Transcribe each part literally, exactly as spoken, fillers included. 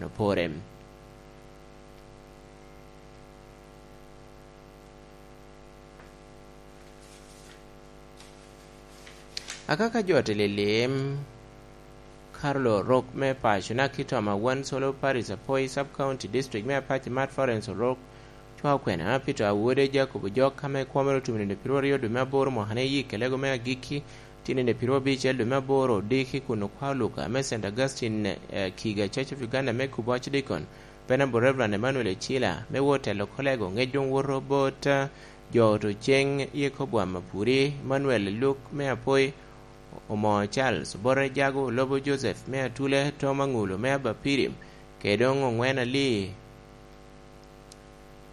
opore. Akaka jo te lilim, Carlo Orok me paco Nakitoma, Wansolo Parish, Apoi Sub County District me Apac, Mat Florence Orok, cwa okwena Peter Awode, Jacob Ojok, ame kwomere otum nino piro aryo dwe me aboro mwaka ni yik, kelego me agikki tye nino piro abicel dwe me aboro, odiki kun okwa Luka me Saint Augustine, eh, Kiga, Church of Uganda me Kubo Archdeacon, Venerable Reverend Emmanuel Echila, me wot telo kolego, ŋec doŋ woto bot, eh, jo oto ceng Yekoboam Apuri, Emmanuel Luk me Apoi, Omo Charles, Obote Jago, Lobo Joseph me Atule, Tom Aŋulu me Abapiri, kede doŋ Oŋwen Ali,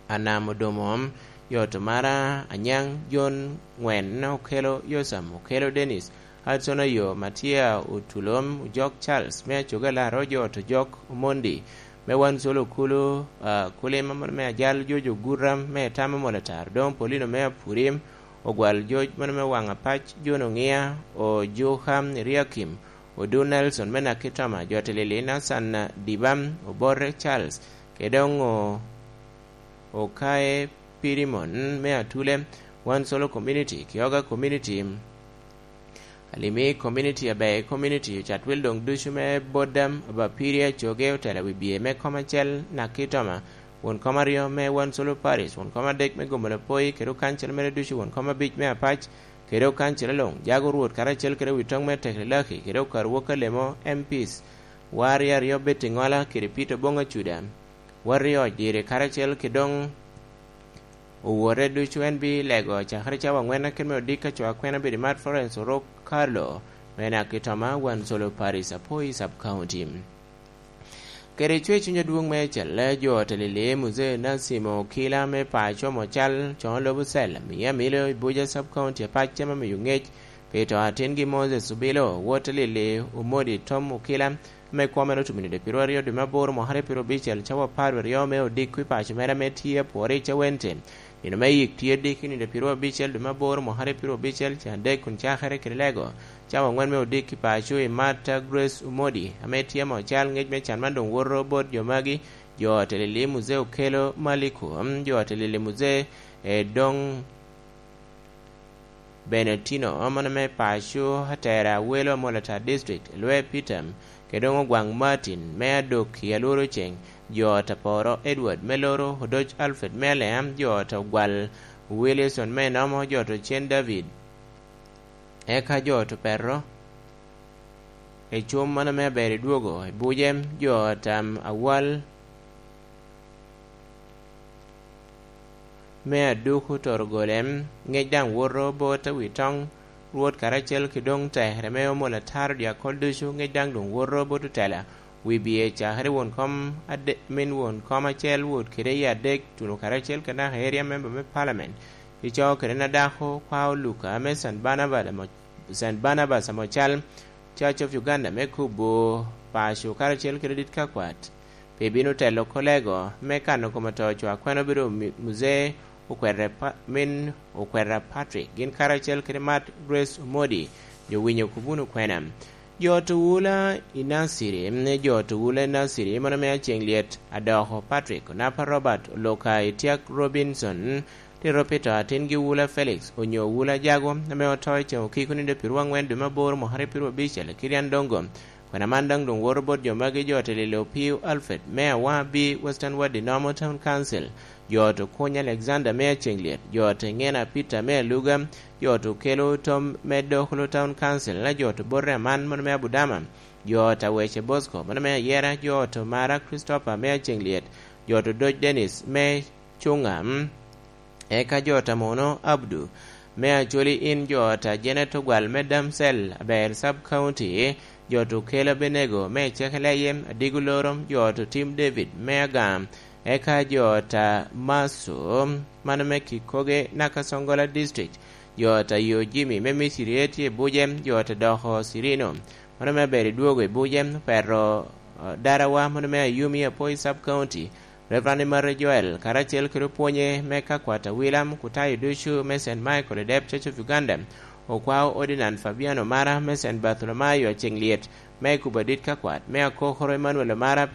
Anam Odomo, jo oto Mara Anyaŋ, John Ŋwen Okelo, Yosam Okelo Dennis, Hudson Ayo, Matia Otulom, Ojok Charles me Acoga Laro, jo oto Ojok Omondi, me Wansolo Kulu, ah, Kulima mano me Ajal, Jojo Guram me Tama Molatar, doŋ Paulino me Apurim, Ogwal Joj mano me Waŋ Apac, John Oŋia, Ojuka Eriakim, Odu Nelson me Nakitoma, jo oto Lili Nathan Dibam, Obote Charles, kede doŋ o-, Okaye Pirimon me Atule, Wansolo Community, Kioga Community, Alimi Community, Abei Community, Ocatwil doŋ ducu me Bodam, Abapiri, Acoge, Otela Wibye me kom acel, Nakitoma, won kom aryo me Wansolo Parish, won kom adek me Gomolo Apoi, kede okancil mere ducu, won kom abic me Apac, kede okancil luŋ, Jago Rwot karacel kede Witoŋ me Teklilaki, kede okar wok alemo M Ps, Wari aryo Betiŋola kede Peter Boŋ Acuda, Wari Oc Dire karacel kede doŋ owote ducu, en bi lego cakere cawa aŋwen akin me odiko, aco akwena bedo i Mat Florence Orok Carlo, me Nakitoma, Wansolo Parish, Apoi Sub County. Kede cwer cuny adwoŋ me celle, jo oto Lili Muzee Nasimo Okila me paco Mocal, Coŋo Lobo Cell, Mia Milo i Buja Sub County, Apac ame miyo ŋec pi to atingi Moses Obilo, wot Lili Omodi Tom Okila, ame kwomere otum i nino piro aryo dwe me aboro mwaka aryo piro abicel, cawa apar aryo me odiko i paco mere ame tye apwore i Cawente. Nino me yik tye diki nino piro abicel dwe me aboro mwaka aryo piro abicel, can adek kun cakere kede lego. Cawa aŋwen me odiki paco i Martha Grace Omodi, ame tye amo cal ŋec me can man doŋ woto bot jo magi, jo oto Lili Muzee Okelo Maliko, mm, jo oto Lili Muzee, eh, Dong Benetino, mano me paco, Atera Awelo, Amolatar District, Lwe Peter, kede doŋ Ogwaŋ Martin, me Adok i Alworo Ceng, jo oto Aporo Edward, me Loro Odoc Alfred, me Alea, jo oto Ogwal Wilson, me Nomo, jo oto Cen David, eka jo oto Petro, i cum mano me aber i dwogo i buce, jo tam awal me aduku toro gole, ŋec daŋ woto bot awi toŋ, Rwot karacel ki doŋ tekere me omo lataro dyakol ducu, ŋec daŋ doŋ woto bot otela, wi biye cakere won kom ade-, min won kom acel, wot kede i adek, tuno karacel kede naka area member me parliament, ico kede na dako kwao Luka me San Barnabas ame Saint Barnabas ame ocal, Church of Uganda me Kubo, paco karacel kede dit kakwat, pe bino telo kolego me kano kom oto co akwena obedo mi-, muzee okwete pa-, min okweta Patrick, gin karacel kede Mat Grace Omodi, jo winyo kubuno kwena. Jo oto wula i Naciri, jo oto wula i Naciri, mano me Aceŋ Lyet, Adoko Patrick, Onapa Robert, Oloka Itiak Robinson, Tito Peter, atingi Wula Felix, onyo Wula Jago, ame oto i ceŋ okiko nino piro aŋwen dwe me aboro mwaka aryo piro abicel, Kirian Dongo. Kwena man daŋ doŋ woto bot jo magi, jo oto Lili Opio Alfred, me Awa B Western Ward i Nomo Town Council, jo oto Kuny Alexander, me Aceŋ Lyet, jo oto Ŋena Peter, me Aluga, jo oto Okelo Tom, me Dokolo Town Council, na jo oto Bote Aman, mano me Abudama, jo oto Awece Bosco, mano me Ayera, jo oto Mara Christopher, me Aceŋ Lyet, jo oto Doc Dennis, me Cuŋa, mm. Eka jo oto Amono Abdu, me Acholi, in jo oto Janet Ogwal me Damsel, Aber Sub County, jo oto Okelo Abenego, me Cekeleye, Adigo Loro, jo oto Tim David, me Agam, eka jo oto Maso, mano me Kikoge, Nakasongola District, jo oto Yo Jimmy, me Misiri, etye Buje, jo oto Doko Sirino, mano me Aber Idwogo i Buje, Pero, eh, Darawa, mano me Ayumi, Apoi Sub County, Reverend Mare Joel, karacel kede opwonye me ka kwat Awilam, kutayo ducu me Saint Michael Edep Church of Uganda, okwao Ordinand Fabiano Mara me Saint Bartholomew Aceŋ Lyet, me Kubo Adit ka kwat, me Akokoro Emmanuel Omara,